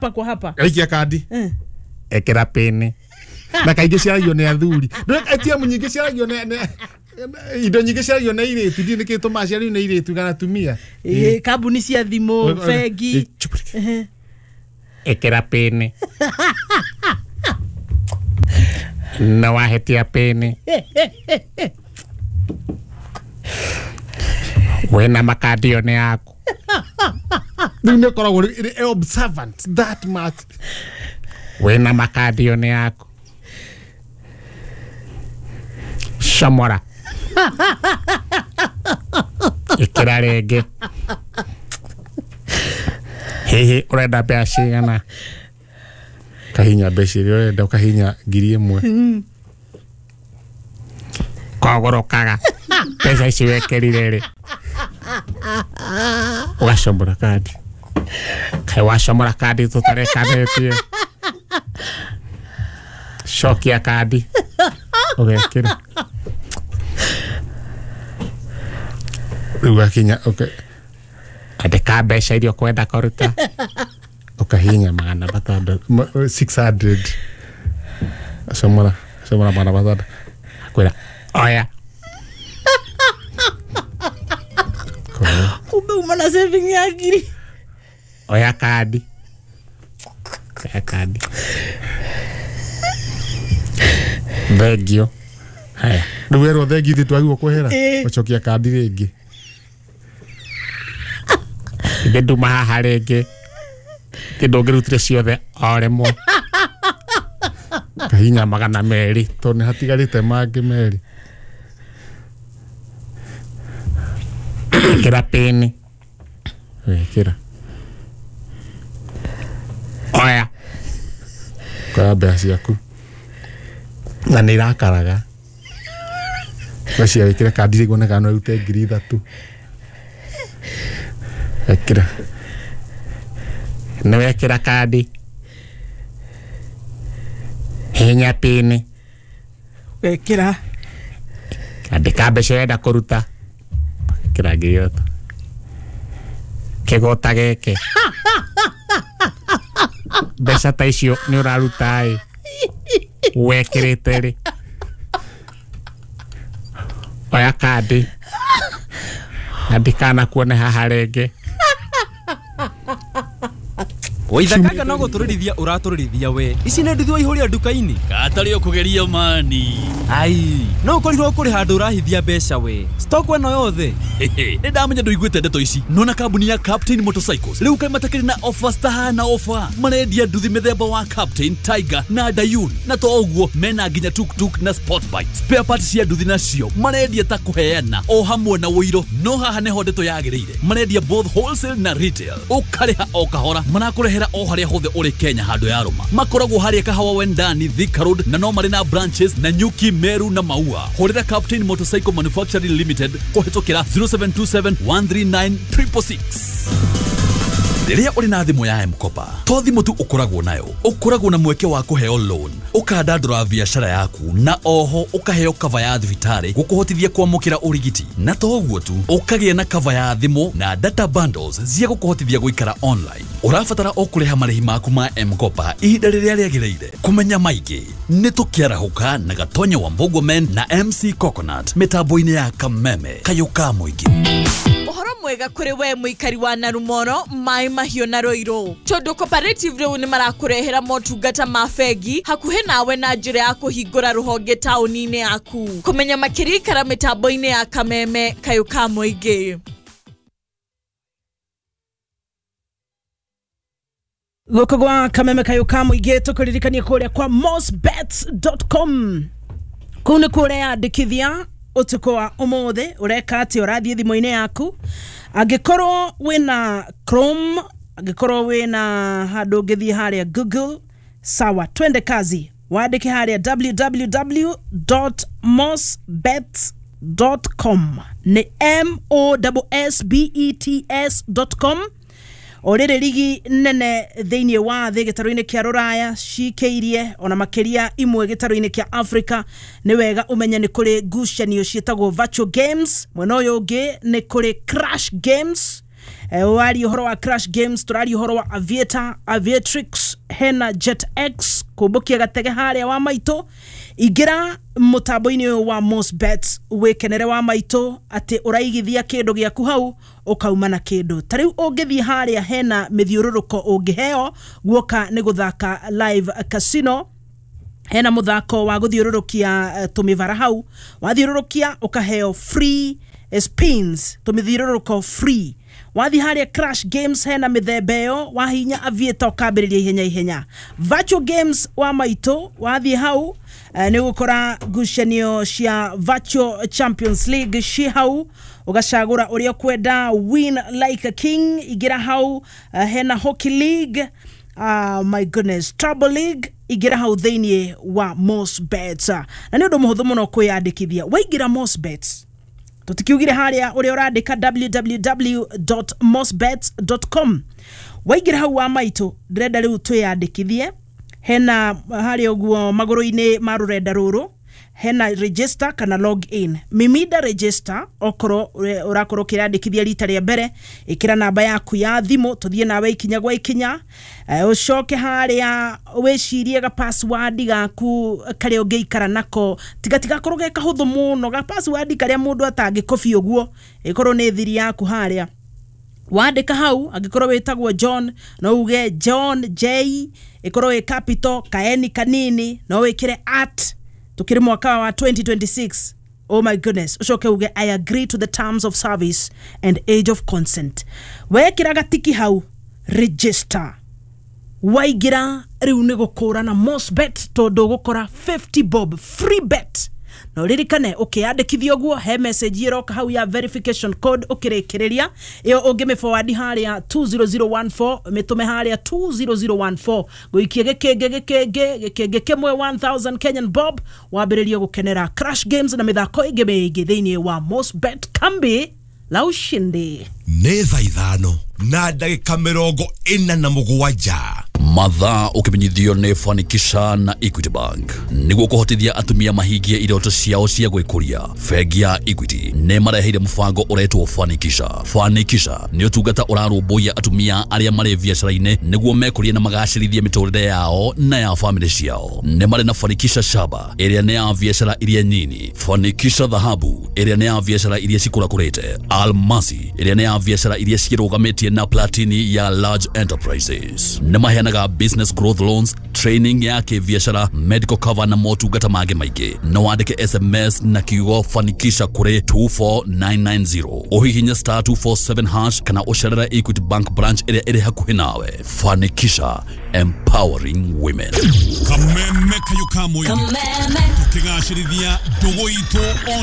Kwa hapa. Aikia kandi. Ekera pini. Na kaingĩ ciaragio nĩ athuri. ATM nyingĩ ciaragio nĩ indo nyingĩ ciaragio nĩ airĩtu, ndiũĩ nĩkĩ gĩtũmaga ciario nĩ airĩtu kana atumia. Kambuni cia thimũ, bengi. Ekera pini. Na wahetia pini. Wena makandi yo nĩ yaku. Rĩu nĩ ũkoragwo observant that much. Wena makandi yo nĩ yaku. Comora. Ĩkĩra rĩngĩ. Hihi ũrenda mbeca cigana? Kahinya mbeca iria ũrenda, ũkahinya 1000. Kogũrũkaga mbeca ici wekĩrire rĩ, ũgacomora kandi. Kaĩ wacomora kandi tũtarekanĩtie. Cokia kandi ũgekĩra. Rĩu gakinya andĩka mbeca iria ũkwenda kũruta, ũkahihinya 600, 600. Comora, comora 600. Akwĩra oya. Kumbe uma na saving ya ngiri. Oya kandi. Oya kandi. Thengio. Haya. Rĩu werwo thengi ithuĩ twagĩrĩirwo kwehera, ũcokia kandi rĩngĩ. Ithe nduma haha rĩngĩ. Ithe ndũngĩrutire ciothe o rĩmwe. Kahinya 200 tondũ nĩ hatigarĩte mangĩ 2. Ĩkĩra pini. Ĩkĩra. Oya. Koya mbeca ciaku. Na nĩ irakaraga. Mbeca wĩkĩre kandi rĩngĩ wone kana no ĩrute 3000. Ĩkĩra. Nĩ wekĩra kandi. Hihinya pini. Wekĩra. Andĩka mbeca ũrenda kũruta. Ĩkĩra 3000. Kĩgũta gĩkĩ. Mbeca ta icio nĩ ũraruta ĩ. Wekĩrĩte rĩ. Oya kandi. Andĩka na kuone haha rĩngĩ. Waithakaga no gũtũrĩrithia ũratũrĩrithia we. Ici nĩ nduthi waihũria nduka-inĩ. Gatarĩ ũkũgeria mani. Ai, no ũkorirwo kũrĩ handũ ũrahithia mbeca we. Stock ĩno yothe. Nĩ ndamenya ndũiguĩte ndeto ici. Nona kambuni ya Captain Motorcycles rĩu kaĩ matakĩrĩ na offers tahana offer. Marendia nduthi mĩthemba wa Captain, Tiger na Dayun. Na to ũguo mena nginya tuk-tuk na sport bike. Spare parts cia nduthi nacio marendia ta kũheana o hamwe na ũiro. No haha nĩho ndeto yagĩrĩire. Marendia both wholesale na retail. Ũkarĩha o kahora. Marakũrehera o harĩa hothe ũrĩ Kenya handũ ya rũma. Makoragwo harĩa Kahawa Wendani, Thika Road, na no marĩ na branches na Nyuki, Meru na Maua. Hũrĩra Captain Motorcycle Manufacturing Limited kũhĩtũkĩra 0727 139 666. Rĩrĩa ũrĩ na thimũ ya M-Kopa, to thimũ tu ũkoragwo nayo, ũkoragwo na mweke wa kũheo loan, ũkandandũra biacara yaku, na oho ũkaheo cover ya thibitarĩ gũkũhotithia kwamũkĩra ũrigiti. Na to ũguo tu, ũkagĩa na cover ya thimũ na data bundles cia gũkũhotithia gũikara online. Ũrabatara o kũrĩha marĩhi maku ma M-Kopa ihinda rĩrĩa rĩagĩrĩire. Kũmenya maingĩ nĩ tũkĩarahũka na Gatonya wa Mbũguo Men na MC Coconut mĩtambo-inĩ ya Kameme kayũ ka mũingĩ. Ũhoro mwega kũrĩ we mũikari wa Narumoro, Mai Mahiũ na Ruiru. Tondũ Cooperative rĩu nĩ marakũrehera motungata ma bengi hakuhĩ nawe na njĩra ya kũhingũra rũhonge taũni-inĩ yaku. Kũmenya makĩria ikara mĩtambo-inĩ ya Kameme kayũ ka mũingĩ. Gũkũ gwa Kameme kayũ ka mũingĩ tũkũririkania kũrĩa kwa mosbets.com. Kũu nĩ kuo ũreyandĩkithia ũtukũ wa ũmũthĩ. Ũreka atĩ ũrathiĩ thimũ-inĩ yaku, angĩkorwo wĩna Chrome, angĩkorwo wĩna handũ ũngĩthiĩ harĩa Google, sawa, twende kazi. Wandĩke harĩa www.mosbets.com, nĩ mossbets.com. O rĩrĩ ligi nene thĩinĩ wa thĩ gĩtarũ-inĩ kĩa rũraya cikĩirie ona makĩria imwe gĩtarũ-inĩ kĩa Africa. Nĩ wega ũmenye nĩ kũrĩ ngucanio ciĩtagwo virtual games, mwena ũyũ ũngĩ nĩ kũrĩ crash games. Waria ũhoro wa Crash Games, tũraria ũhoro wa Aviator, Aviatrix, hena Jet X kũmbũkia gatege harĩa wa maitũ. Ingĩra mũtambo-inĩ ũyũ wa Mostbet wĩkenere wa maitũ atĩ ũraigithia kĩndũ gĩaku hau ũkauma na kĩndũ. Ta rĩu ũngĩthiĩ harĩa hena mĩthiũrũrũko ũngĩheo guoka nĩ gũthaka live casino, hena muthako wa guthiururukia tumivara hau, wathiururukia ukaheo free spins, tumithiururuko free. Wathi haria Crash Games hena mithemba ĩyo, wahinya Aviator ukambĩrĩria ihenya ihenya. Virtual Games wa maitũ wathi hau nĩ ũgũkora ngucanio cia Virtual Champions League ci hau, ũgacagũra ũrĩa ũkwenda. Win like a king, ingĩra hau. Hena Hockey League, my goodness, Trouble League, ingĩra hau thĩinĩ wa Mostbet. Na nĩ ũndũ mũhũthũ mũno kwĩyandĩkithia. Waingĩra Mostbet, tũtikiugire harĩa ũrĩa ũrandĩka www.mostbet.com, waingĩra hau wa maitũ, ndĩrenda rĩu twĩyandĩkithie. Hena harĩa ũguo magũrũ-inĩ ma rũrenda rũrũ hena register kana log in. Mimida register okorwo ũrakorwo ũkĩrandĩkithia rita rĩa mbere, ĩkĩra namba yaku ya thimũ tũthiĩ nawe ikinya gwa ikinya. Ũcoke harĩa wĩcirie ga password gaku karĩa ũngĩikara nako, tiga tigakorwo ge kahũthũ mũno, ga password karĩa mũndũ atangĩkobi ũguo, ĩkorwo nĩ thiri yaku harĩa wandĩka hau. Angĩkorwo wĩtagwo John no uge John J, ĩkorwo ĩ capital kaeni kanini, no wĩkĩre at tukiri mwaka wa 2026. Oh my goodness, ucoke uge I agree to the terms of service and age of consent. Wekĩra gatiki hau register, waingĩra rĩu nĩ gũkũra na Mostbet tondũ ũgũkora 50 bob free bet. Na ũririkane ũkĩyandĩkithia ũguo he message ĩroka hau ya verification code, ũkĩrĩkĩrĩria ĩyo ũngĩmĩ forward harĩa 20014, mĩtũme harĩa 20014, gũikia gĩkĩngĩ gĩkĩngĩ gĩkĩngĩ kĩmwe 1000 Kenyan bob, wambĩrĩrie gũkenera Crash Games na mĩthako ĩngĩ mĩingĩ thĩinĩ wa Mostbet, kambi la ushindi. Nĩ thaa 5:47. Mathaa ũkĩmenyithio nĩ Fanikisha na Equity Bank nĩguo kũhotithia atumia mahingie iroto ciao cia gwĩkũria. Bengi ya Equity nĩ mareheire mũbango ũretwo Fanikisha. Fanikisha nĩ ũtungata ũrarũmbũiya atumia arĩa marĩ biacara-inĩ nĩguo mekũrie na magacĩrithie mĩtũrĩre yao na ya famĩlĩ ciao. Nĩ marĩ na Fanikisha Shaba ĩrĩa nĩ ya biacara iria nyini, Fanikisha Dhahabu ĩrĩa nĩ ya biacara iria cikũrakũrĩte, Almasi ĩrĩa nĩ ya biacara iria cirũgamĩtie na Platini ya large enterprises. Nĩ maheanaga business growth loans, training ya kĩbiacara, medical cover na motungata mangĩ maingĩ. No wandĩke SMS na kiugo Fanikisha kũrĩ 24990, ũhihinye star 247 hash kana ũcerere Equity Bank branch ĩrĩa ĩrĩ hakuhĩ nawe. Fanikisha, empowering women. Kameme kayo ka mũingĩ, tũkĩgacĩrithia ndũgũ itũ.